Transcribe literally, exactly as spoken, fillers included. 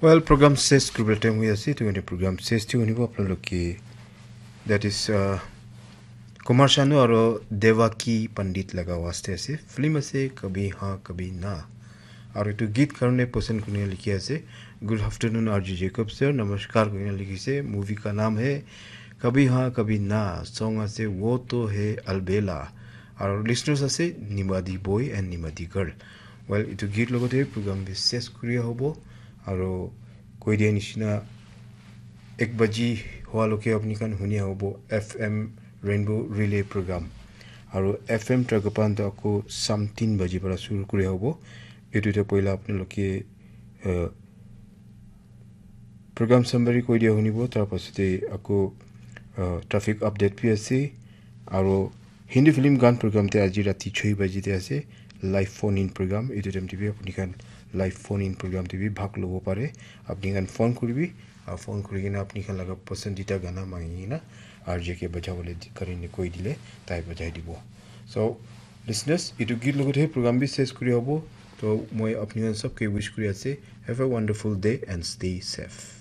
Well, program ses kuribole time hoi ase, etu karne program ses te hunibo apnalok ke. That is, uh, Kumar Sanu aro Devaki Pandit laga waste ase. Film ase Kabhi Haan Kabhi Na. Aro etu geet karne pasand kurina likhi ase. Good afternoon, R J Jacob sir. Namaskar kurina likhi ase. Movie ka naam hai Kabhi Haan Kabhi Na. Song ase Wo To Hai Albela. Aro listeners ase Nimadi Boy and Nimadi Girl. Well, etu geet logote program bi ses kuriya hobo. Aro koi dia nishina ek baji hoa loke apni khan hunia hobo F M Rainbow Relay program. Aro F M Tragapan to ako sam tin baji para shuru kuriya hobo. Etu te poila apni loke, uh, program summary koi dia hunibo, tar pasate ako, uh, traffic update bi ase. Aro Hindi film gan program te aji rati choi baji te ase, live phone in program. Etu time te bi apni khan live phone in program te bi bhag lobo pare. Apni khan phone kuribi, ah, phone kuri kena apni khan laga pasandida gana mangi kena R J ke bajabole di-, karine koi dile, tai bajai dibo. So, listeners, etu geet logote program bi ses kuri hobo. To moi apni khan sob ke wish kuri ase. Have a wonderful day and stay safe.